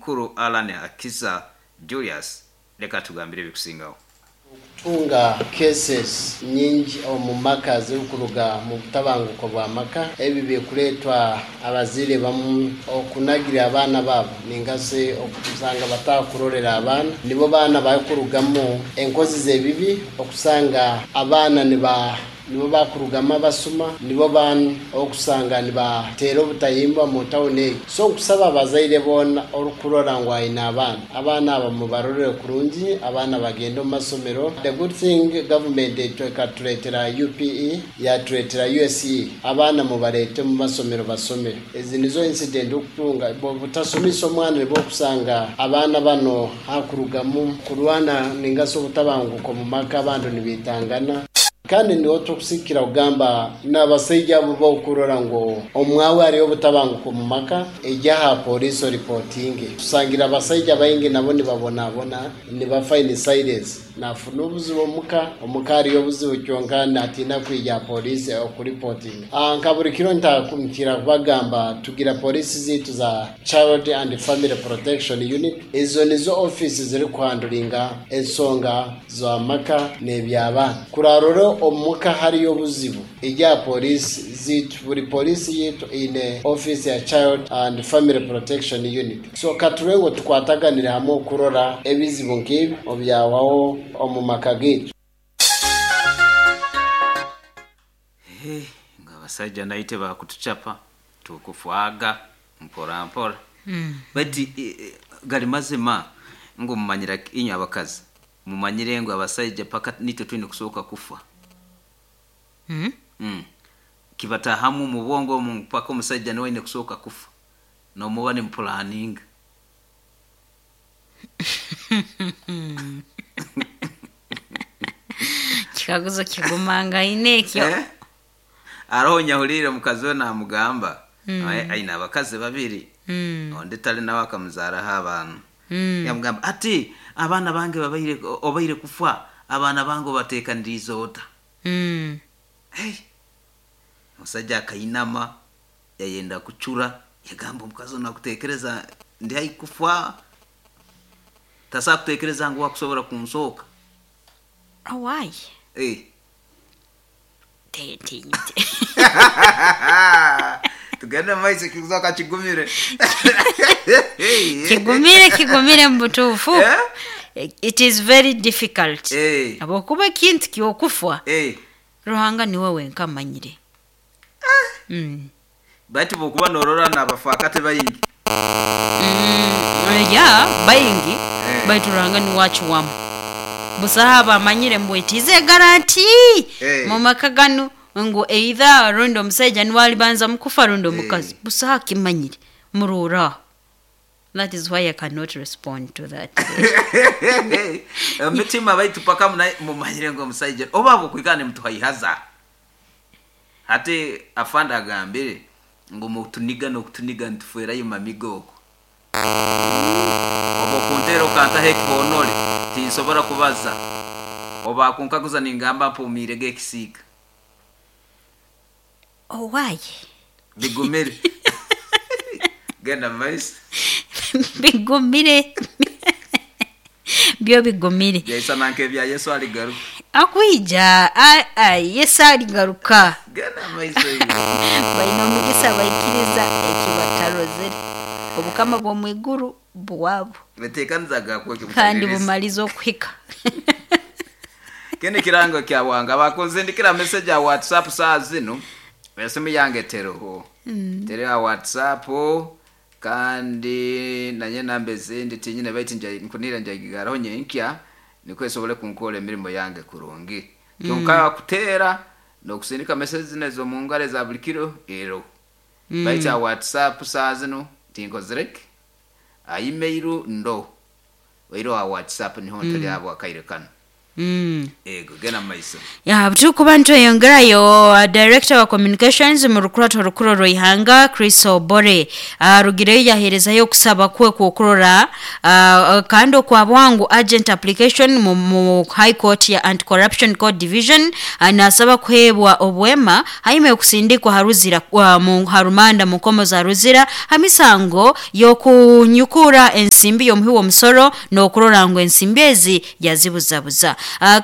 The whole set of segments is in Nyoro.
Mukuru Allan Akiza Julius leka tugambire ebikusingaho. Okutunga cases nyingi omu maka zirikuruga mu butabanguko bwa maka. Ebi birikureetwa abazaire bamwe okunagira abaana baabo ninga shi okusanga batakurorera abaana. Nibo baana barikurugamu enkozi z'ebibi okusanga abaana niba Nibo bakurugamu abasuma, nibo baana okusanga nibateera obutahimbwa mu tawuni egi. So nkusaba abazaire boona orikurora ngu aine abaana, abaana aba mubarorere kurungi, abaana bagende omu masomero. The good thing government ekatureetera UPE, yatureetera USE, abaana mubareete omu masomero basome. Ezi nizo incident okutunga, obutasomesa omwana nibwo okusanga abaana bano hakurugamu kurwana ninga shi obutabanguko omu maka abantu nibaitangana. Kandi niho turikusigikira kugamba n'abasaija abu b'okurora ngu omwawe hariyo obutabanguko omu maka, ija aha poriisi oripotinge. Tusangire abasaija baingi nabo nibabonabona, nibafa in silence. Nafuna obuzibu omuka, omuka hariyo obuzibu kyonka natiina kwija aha poriisi okuripotinga. Nka buri kiro nkira kubagamba tugira poriisi zaitu za Child and Family Protection Unit, ezo nizo ofiisi zirikuhanduringa ensonga z'amaka n'eby'abaana. Kurarora omuka hariyo obuzibu, ija aha poriisi zaitu. Buri poriisi yaitu eine ofiisi ya Child and Family Protection Unit. So katurebe ngu tukwataganire hamwe okurora ebizibu nk'ebi obyahwaho omu maka gaitu. Hey, ngu abasaija naitwe bakutuchapa tukufwaga mpora mpora. Baitu gali mazima ngu mumanyira inywe abakazi mumanyire ngu abasaija paka nitwe twine kusooka kufa. Kibatahamu omu bwongo omu ngu paka omusaija niwe aine kusooka kufa nomuba nimupulaninga. Kikaguzo kigumangaine ekyo. Eh? Haroho nyahuliire mukazi we namugamba aine abakazi babiri ondi tali nawe akamuzaaraho abaana. Yamugamba ati abaana bange babaire obaire kufa abaana bange obateekaniriize ota? Hey, omusaija akainama yayenda kucura yagamba omukazi onu akuteekereza ndi haihi kufa tasobola kuteekereza ngu akusobora kunsooka. Owaaye. Eh. Ntinyite. Tugende mu maiso ekikuzoka kigumire. Kigumire kigumire mu butuufu. Eh? It is very difficult. Eh. Habwokuba ekintu ky'okufwa Eh. Ruhanga niwe wenka amanyire. Baitu bwokuba norora n'abafaakati baingi. Ya baingi Eh. baitu Ruhanga niwe acuwamu. Busaho abamanyire mbu it is a guarantee Eh. mu maka ganu ngu either rundi omusaija niwe alibanza mukufa rundi omukazi. Eh. Busaho akimanyire muroora aho. That is why I cannot respond to that. Emitima baitu paka mumanyire ngu omusaija oba habwokwikara nimutuhaihaza. Hati afande agambire ngu mutuniga n'okutuniga nitufeerayo mamiga okwo. Obu okunteera okantaho ekihonore tinsobora kubaza. Obu akunkaguza ningamba mpumiirege ekisiika. Owaaye. Bigumire. Genda mumaiso. Bigumire. Byo bigumire. Byaisana nk'ebya Yesu aligaruka. Akwija Yesu aligaruka. Genda mumaiso iwe. Baine omugisa abaikiriza eki batarozere. Obukama bw'omu iguru bwabo. Betekaniza gakwe Kandi bumalize okuhika. Kinu kirango kya wanga bakunzindikira message ya WhatsApp saa zinu esimu yange teroho. Teriho ha WhatsApp kandi nanye namba ezindi tinyine baitu nkunira njagigaraho nyenkya nikwo esobole kunkora emirimo yange kurungi. Kyonka kuteera n'okusindika message zinu ez'omu ngaro eza buli kiro eroho. Baitu ha WhatsApp saa zinu tinkozire ki? Ha email ndoho. Oihireho ha WhatsApp niho ntali habwa akaire kanu. Ego, genda mumaiso. Ya, tukuba ntweyongerayo, director wa communications mu rukurato rukuru rw'ihanga Chris Obore arugireyo yaherezayo okusaba kwe kwokurora kandi okwa bwangu agent application mu High Court ya Anti-Corruption Court Division, nasaba kuhebwa obwema haime okusindikwa haruzira mu harumanda mu nkomo za Ruzira hamisango yokunyukura ensimbi y'omuhi w'omusoro n'okurora ngu ensimbi ezi yazibuzabuza.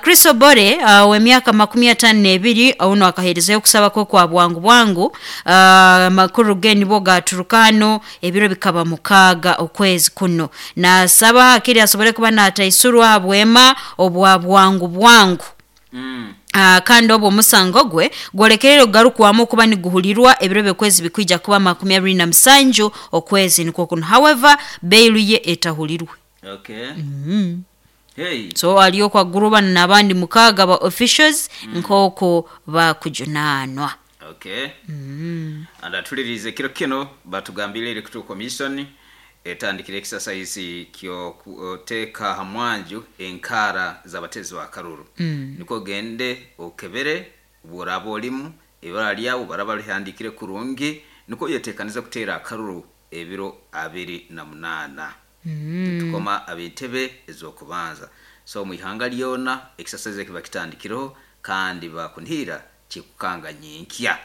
Chris Obore w'emyaka 52 ono akaherezayo okusaba kwe kwa bwangu bwangu. Makuru ge nibo gaturuka hano ebiro bikaba 6 okwezi kuno, nasaba akiri asobole kuba nataisurwa bwema obwa bwangu bwangu. Kandi obwo omusango gwe gwolekerere ogarukwamu okuba niguhulirwa ebiro by'okwezi bikwija kuba 27 okwezi nikwo kuno. However, bailu ye etahulirwe. Okay. Hey. So aliyo kwa guruba n'abandi 6 ba officials nk'oko bakujunanwa. Okay. Andatulirize kiro kino batugambire Electoral Commission etandikire exercise kyo kuteka hamwanju enkara z'abatezi ba karuru. Niko gende okebere burabo olimu ibara lyawo baraba lihandikire kurungi, niko yetekaniza kutera akaruru ebiro 28. Tukoma abentebe ezokubanza. So mu ihanga lyona exercise kiba kitandikiro kandi bakunhira kikukanga nyinkya.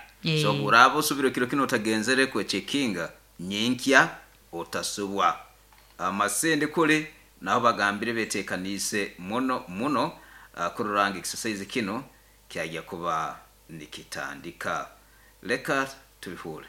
So burabo subiro kiro kino utagenzere kwe chekinga nyinkya otasubwa. Amasende kule naho bagambire betekanise muno muno, kururanga exercise kino kyajya kuba nikitandika. Leka tubihure.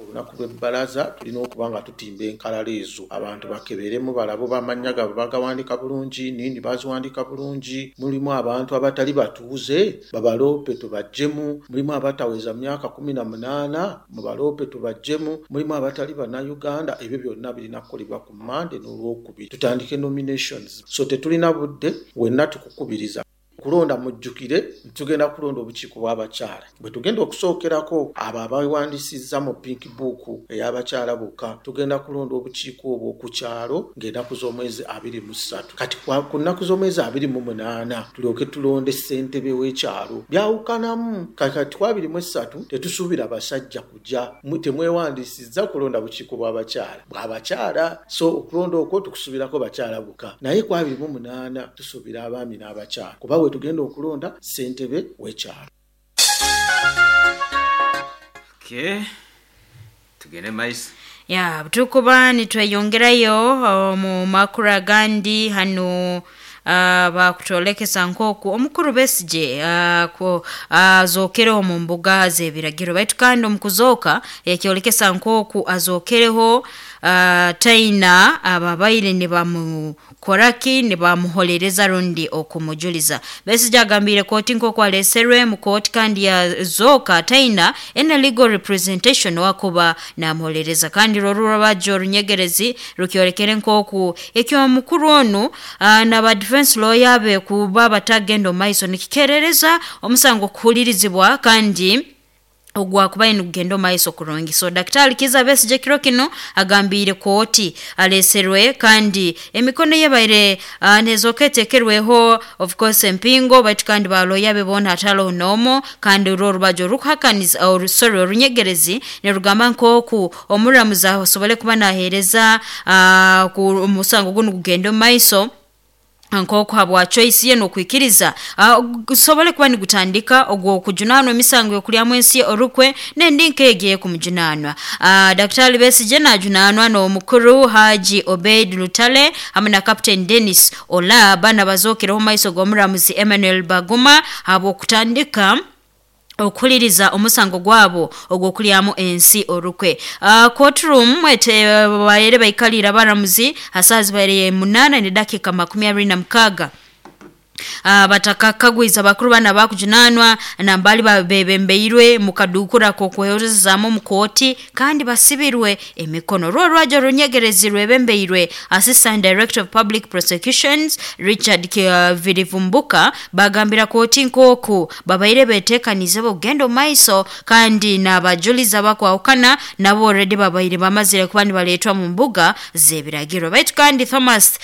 Olunaku lw'ebbalaza tulina okuba nga tutimba enkalala ezo, abantu bakeberemu balabo bamanya gaabwe bagawandika bulungi, nindi baziwandika bulungi. Mulimu abantu abatali batuuze babaloope tubaggyemu, mulimu abataweza myaka 18 mubaloope tubaggyemu, mulimu abatali bannayuganda. Ebyo byonna birina kukolebwa ku Mmande n'Olwokubiri tutandike nominations. So tetulina budde, wenna tukukubiriza kulonda. Mujjukire tugenda kulonda obukiiko bw'abakyala bwe tugenda okusookerako abo abawandiisizza mu pink book ey'abakyala bokka. Tugenda kulonda obukiiko obwo ku kyalo ng'ennaku z'omwezi 23. Kati ku nnaku z'omwezi 28 tulyoke tulonde ssentebe w'ekyalo. Byawukanamu kati ku 23 tetusuubira basajja kujja, temwewandiisizza kulonda bukiiko bw'abakyala bw'abakyala, so okulonda okwo tukusuubirako bakyala bokka, naye ku 28 tusuubira abaami n'abakyala kuba we tugenda okulonda ssentebe w'ekyalo. Okay. Tugende maiso. Ya, tukuba nitweyongerayo mu makuru agandi hano, bakutolekesa nkoku omukuru Besigye azokereho mu mbuga z'ebiragiro, baitu kandi omukuzoka yakyolekesa nkoku azokereho taina ababaire nibamukoraki nibamuholereza rundi okumujuliza. Besigye agambire kooti nkoku aleserwe mu kooti kandi yazoka taina ena legal representation wakuba namuholereza, kandi rorura bajo orunyegerezi rukyolekere nkoku ekyo omukuru onu naba defense lawyer be kuba batagenda maiso nikikerereza omusango kuhulirizibwa kandi ogwa kuba nigugenda maiso kurungi. So Daktari Kizza Besigye kiro kino agambire kooti aleserwe kandi emikono ye baire nezoketekerweho of course empingo, baitu kandi baloya be bona hatalo nomo, kandi urwo rubajo rukuhakaniza orusore orunyegerezi nerugamba nkoku omuramuzi asobole kuba nahereza ku omusango guno gugenda maiso nkoku habwa choice ye nokwikiriza gusobole kuba nigutandika ogwo kujunanwa emisango yokulyamu ensi orukwe nendi nkegeye kumujunanwa. Daktari Besigye najunanwa n'omukuru Haji Obeid Lutale hamwe na Captain Dennis Ola bana bazokereho maiso g'omuramuzi Emmanuel Baguma habw'okutandika okuhuliriza omusango gwabo ogw'okulyamu ensi orukwe. Courtroom ete baire baikalira abaramuzi asazi baire 8:26. Batakakagwiza bakuru bana bakujunanwa nambali babebembeirwe mukadukura kokwehorezamu omukooti kandi basibirwe emikono. Rwo rwajo runyegerezi rwebembeirwe Assistant Director of Public Prosecutions Richard Virivumbuka bagambira kooti nkoku babaire betekanize bogenda omaiso kandi n'abajuliza bakwahukana nabo already babaire bamazire kuba nibaletwa mu mbuga z'ebiragiro. Baitu kandi Thomas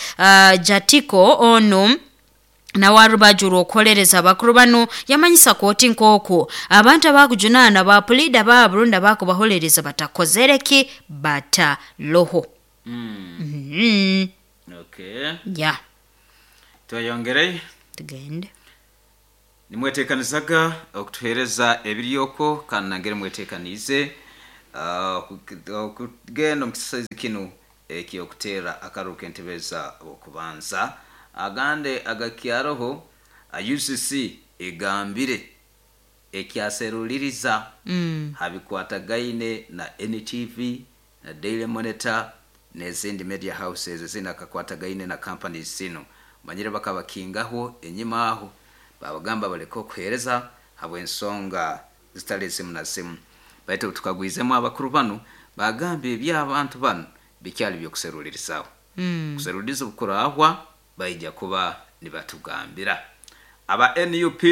Jatiko ono nawe arubaju rw'okuholereza abakuru bano yamanyisa kooti nk'oku abantu abakujunaana ba pulida baabo rundi abakubaholereza batakozereki bataloho. Okay. Ya. Tweyongerei. Tugende. Nimwetekanizaga okutuhereza ebiryoko kandi nangere mwetekanize okugenda omu kisasi kinu ekyokuteera akaruru k'entebeza okubanza agande agakyaroho. UCC egambire ekyaseruliriza habikwatagaine na NTV na Daily Monitor n'ezindi media houses ezindi akakwatagaine na companies zino. Manyire bakabakingaho enyima aho babagamba baleke okuhereza habw'ensonga zitali zimu na zimu, baitu tukagwizemu abakuru banu bagambye eby'abantu banu bikyali byokuserulirizaho. Kuseruliriza obukurahwa baija kuba nibatugambira. Aba NUP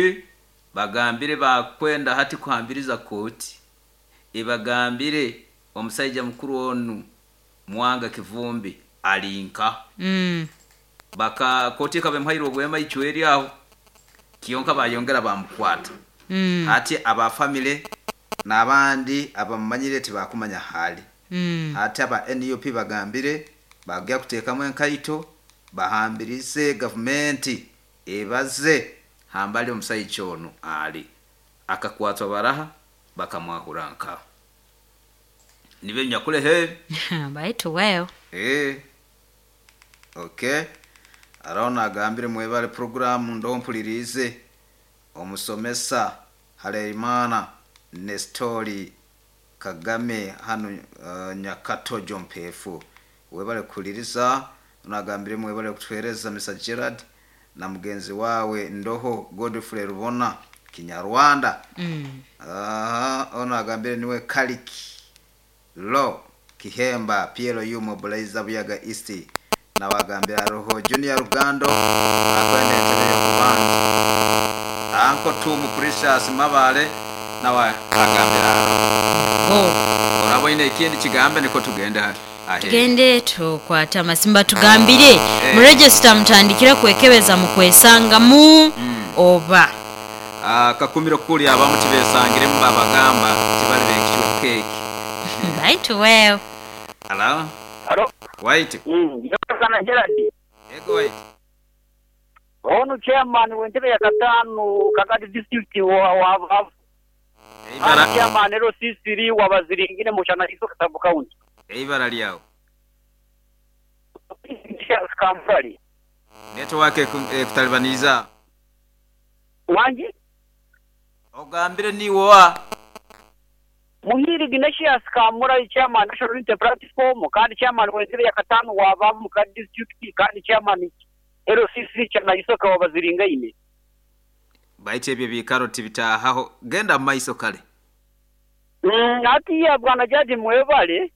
bagambire bakwenda hati kuhambiriza kooti ebagambire omusaija mukuru onu Mwanga Kivumbi alinka. Baka kooti ekaba emuhaire obwema icweri aho kyonka bayongera bamukwata. Hati aba family n'abandi abamumanyire tibakumanya hali. Hati aba NUP bagambire bagya kuteekamu enkaito bahambirize gavumenti ebaze hambali omusaija onu ali akakwatwa baraha bakamwahura nkaho nibe nyakulehe. Baitu wewe. Okay, araho agambire mwebale programu ndompulirize omusomesa Harerimana Nestori Kagame hano Nyakatojo Mpefu, webale kuhuliriza. Nagambire mwebale kutuhereza Mr Gerard na mugenzi wawe Ndoho Godfrey Rubona Kinyarwanda. Aha, ono agambire niwe Kaliki Lo Kihemba PLU Mobilizer Buyaga East, nawagambira roho Junior Rugando akwenda entebe y'okubanza. Anko Tumu Precious Mabale nawe agambira aroho. Oh. Oraboine ekindi kigambe niko tugenda ahe. Tugende tukwate amasimba tugambire muregisita mutandikire kwekebeza mukwesangamu oba. Kakumiro kuli abamu tibesangiremu babagamba tibali bekicwa keki. Baitu wewe. Hello. Halo. White. Sana Gerard. Ego White. Ono chairman w'entebe ya katano Kagadi district wa Eibara chairman ero sisiri wa baziringine mushana iso Katabu County. Eibara lyawo. Kampali. Network ekutalibaniza. Wangi? Ogambire niwoa. Muhiri Ignatius Kamura chairman National Unity Platform kandi chairman w'entebe ya katano wa babu mu Kagadi district kandi chairman ero sisiri chana isoka wa baziringaine. Baite ebyo bikaro tibitahaho genda mu maiso kale. Ati ya bwana jaji mwebale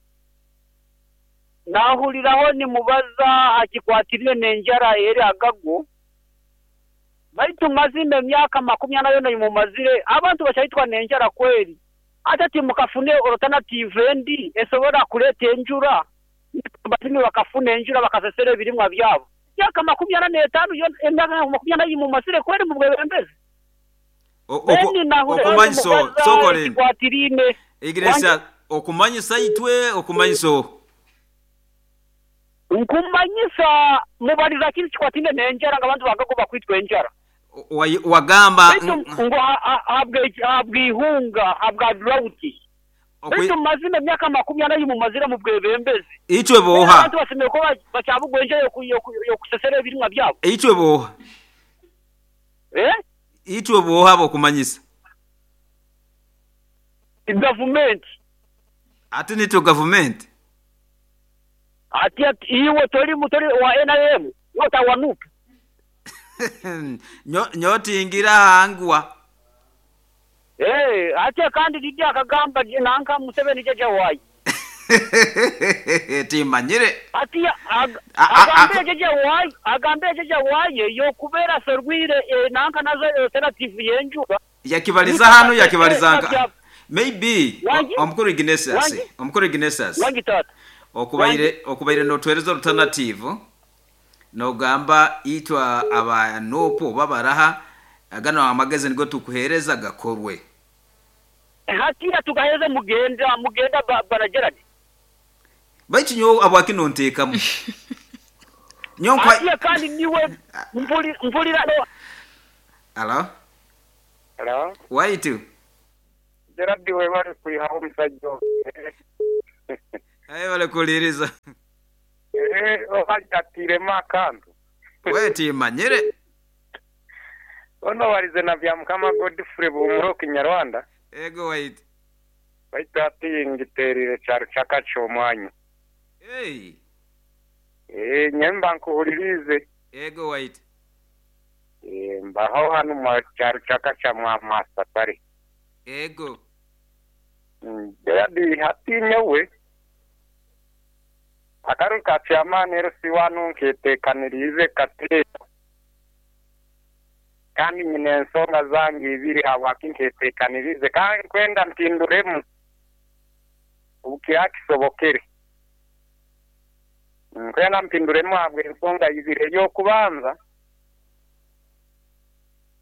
nahuliraho ni mubaza akikwatire n'enjara eri agago baitu mazime emyaka 40 mumazire abantu bachayitwa n'enjara kweri ate timukafune alternative endi esobora kuleta enjura batimi bakafuna enjura bakasesera ebirimwa byabo myaka 45 yo emyaka 40 mumazire kweri mubwebembezi. Okumanyiso sokoleni Ekikwatirine Iglesia okumanyisa itwe okumanyiso nkumanyisa mubaliza kintu kikwatine n'enjara nga abantu bagagoba kwitwa enjara. Wagamba ngo habwihunga habwa drought. Baitu mazima emyaka 40 mumazire mu bwebembezi. Itwe boha abantu basemeye ko bacabugwa enjara yokusesera ebirimwa byabo. Itwe boha itwe boha bokumanyisa government. Ati nito government ati iwe tori mutori wa NRM wota wanup. Nyotingira hangwa. Eh, ate kandi didi akagamba nanka Museveni jaja wayi. Timanyire. Ati agambire jaja wayi, agambire jaja wayi yokubera serwire nanka nazo alternative yenjuba. Yakibaliza hano yakibaliza nka. Maybe omukuru Ignatius, omukuru Ignatius. Wangi tata. Okubaire notwereza alternative nogamba itwa aba nopo babaraha agano amagezi nigo tukuhereza gakorwe. Hatira tugaheza mugenda bana Gerard. Baitu nyo abwakino ntekamu. Nyo kwa Atiya kandi niwe mpulira no. Hello? Hello? Waitu. Gerard we bari kuihaho omusajja. Aye bale kuliriza. Obajatiremu akantu. Weti manyire. Ono warize na bya Mukama Godfrey Buhumuro Kinyarwanda. Ego wait. Baitu ati ngiterire cyaro cyakacho omwanyu. Hey. Nyemba nkuhulirize. Ego wait. Mbaho hano mu cyaro cyakacha mwa masatari. Ego. Gerard hati nyewe. Akaru ka chairman RC1 nketekanirize kate. Kandi nyine ensonga zange ibiri habwaki nketekanirize kandi kwenda mpinduremu ubukiakisobokere. Kwenda mpinduremu habwe ensonga ibiri yo kubanza.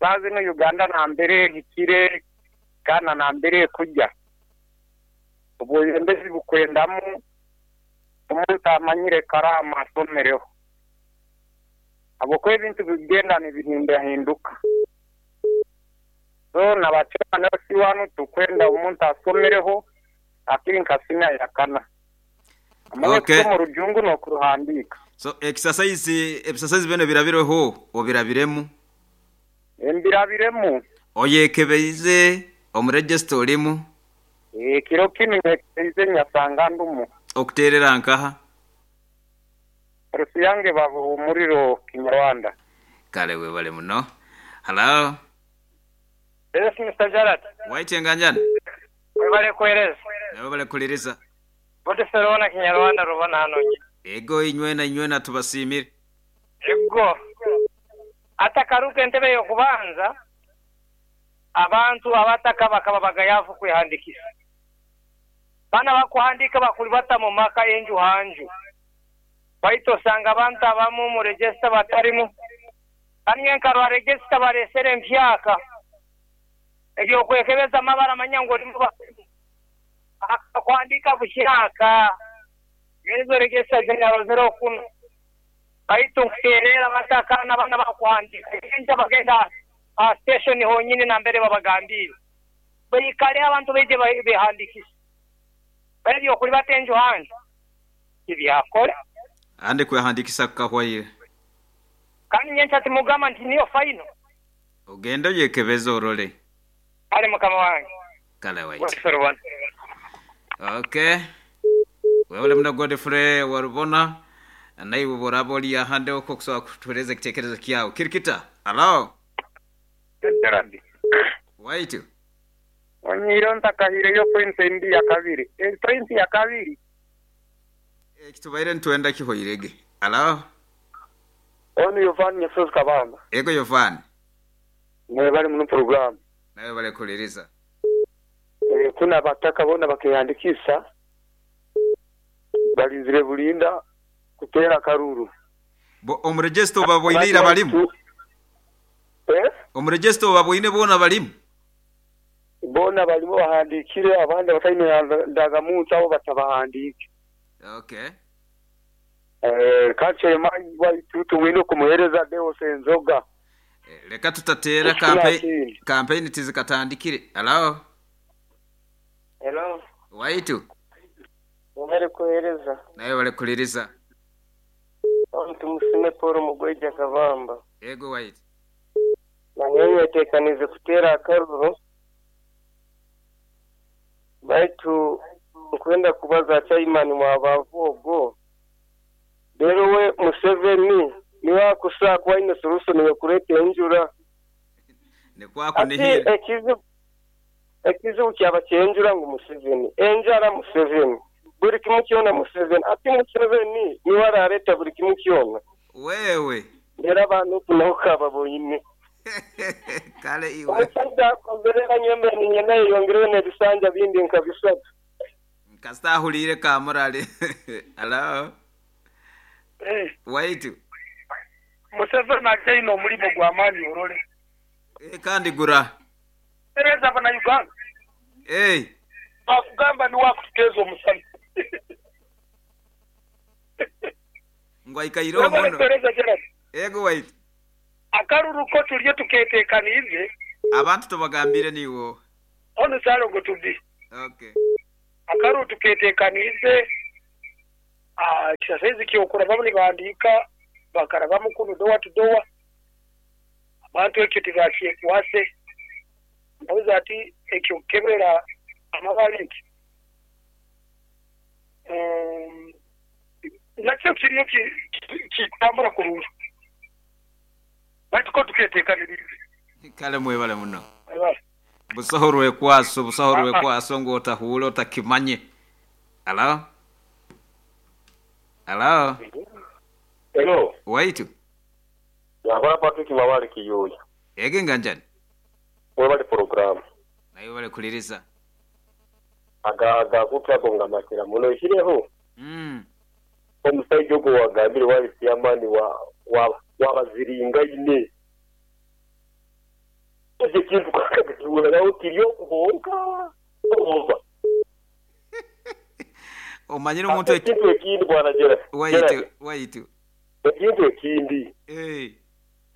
Bazi no Uganda na mbere hikire kana na mbere kujya. Ubuyembezi bukwendamu umuntu amanyire karama asomereho. Abo ebintu bigenda nibihindahinduka. So nabachana si wanu tukwenda umuntu asomereho akiri nkasina yakana. Okay. Mu rujungu no kuruhandika. So exercise bene birabireho obirabiremu. Embirabiremu. Oyekebeize omuregister olimu. Kiro kinu nyekebeize nyasanga ndumu. Okuterera nkaha. Rusiyange babuhumuriro Kinyarwanda. Kale we bale muno. Hello. Yes Mr. Gerard. Waitenga njani? Webale kueleza. Webale kuliriza. Bote serona Kinyarwanda rubona hano. Ego inywena tubasimire. Ego. Atakaruka entebe yo kubanza abantu abataka bakaba bagayavu kwihandikisha. Bana bakuhandika bakulibata mu maka enju hanju. Baito sanga abantu abamu mu register batarimu. Kandi nkarwa register baresere mpyaka. Ebyo kwekebeza amabara manyango limu kuandika bushaka. Ngezo register general 01. Baito nkuterera bataka n'abana bakuhandika. Enja bagenda a station honyine na mbere babagambira. Bayikale abantu beje behandikisha. Bali okuli batenjo hanju. Ibyakora. Ande kuyahandikisa kahwaire. Kandi nyencha timugamba nti niyo final. Ogenda yekebeza orole. Ale mukama wange. Kale wait. Okay. Wewe mna Godfrey warubona naiwe boraboli ahande uko kusoa kutueleza kitekerezo kiao. Kirikita. Hello. Gerard. Wait. Onyiro ntakahire yo point ndi ya kabiri. Point ya kabiri. Kitubaire ntuenda kihoirege. Hello. Ono Yovan Nyasozi Kabamba. Ego Yovan. Mwe bali mu program. Nawe bale kuliriza. Kuna bataka bona bakihandikisa balinzire bulinda kutera karuru. Bo omuregister baboinira balimu. Omuregister baboine bona balimu. Bona balimu bahandikire abandi bataine ndagamuntu abo batabahandike. Okay. Kache manyi waitu wino kumuhereza Deo Senzoga. Leka tutatera campaign tizikatandikire. Hello. Hello. Waitu. Mwere kuhereza. Nawe wale kuliriza. Tumusime Paul Mugweja Kabamba. Ego waitu. Na nyewe tekanize kutera akaruru. Baitu nkwenda kubaza chairman wa bavogo. Rero we Museveni niwe Kusa kuba aine solution yokureeta enjura. Ati Nikwakunihira. ekizibu kyaba kyenjura ngu Museveni, enjara Museveni, buli kimu kyona Museveni. Ati Museveni niwe arareeta buli kimu kyona. Wewe. Era abantu naho kababonyine. Kale iwe. Omusajja akozerera nyembe ninyena yeyongereyo n'ebisanja bindi nka bisatu. Kasita ahuliire kamurali. Hello. Waitu. Museveni akyaine omulimo gw'amaani orole. Kandi gura. Tereza Bannayuganda. Bakugamba niwe akututeeza omusana. Ngu aikaire omuno. Tereza Gerald. Ego waitu. Akaruru ko tulye tuketeekaniize. Abantu tubagambire niwo. Onu Ssalongo tubi. Okay. Akaruru tuketeekaniize. Saizi kyokurabamu nibahandiika bakarabamu kunu dowa tu dowa. Abantu ekyo tibakyekwase. Mbuuza ati ekyo kukebera amabare nti nakyo kiriyo kitambura kurungi. Baitu ko tuketeekaniriize. Kale mwebale muno. Busaho rwekwaso, busaho rwekwaso ngu otahuule otakimanye. Hello? Hello? Hello. Waitu. Yakora Patrick Mabale Kiyoya. Ege nganjani. Webale program. Nayo bale kuliriza. Aga kupra kongamatira muno ishireho. Omusajja ogwo wagambire wali chairman wa wabaziringa ine. Ekyo kintu kakakituura kiri okuhonka. Oba. Omanyire omuntu ekintu ekindi bwana Gerald. Waitu. Ekintu ekindi.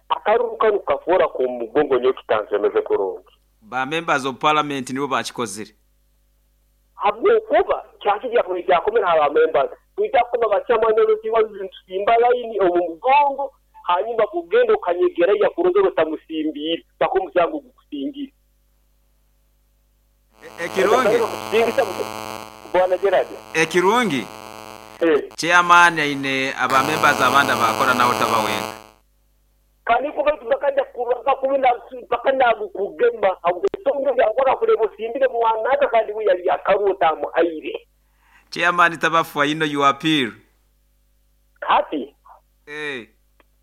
Akaruru kanu kafoora ku mugongo nyo kitansemeze kurungi. Ba members of parliament nibo bakikozire. Habwokuba kyakijja kujja aba members. Tujja kuba bachairman n'olukiiko ntusimba line omu mugongo hanyuma kugenda okanyegera ya kuroza otamusimbiire bakomusango gukusingira. Ekirungi. Bwana Gerald. Ekirungi. Chairman aine aba members abandi abakora nawe tabawenga. Kaniko kaitu bakajja kuraka kubina bakana kugema abusongo yakora kurebo simbire mwanaka kandi we yali akaruta muhaire. Chairman tabafa ino you appeal. Kati.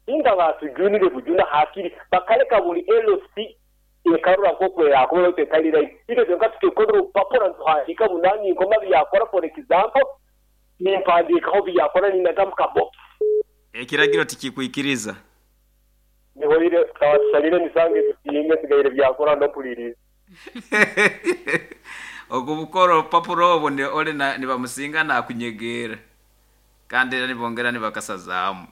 Inga batujunire bujuna hakiri bakaleka buli LC ekarura koko yakora tekalira. Ito tonka tukekodro papora ntuhandika bunani ngoma byakora for example nimpandika ho byakora ninagamuka box. Ekiragiro tikikuikiriza. Nihoire kawasalire nisange tusinge sigaire byakora ndopuliriza. Ogubukoro papuro obo ne ole na nibamusinga nakunyegera. Kandi era nibongera nibakasazamu.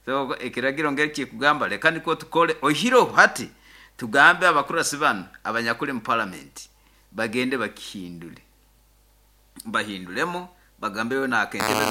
So ekiragiro ngeri kikugamba leka niko tukole ohiro hati tugambe abakurasi bano abanyakuli mu parliament bagende bakihindule. Bahindulemo bagambe we na akentebe.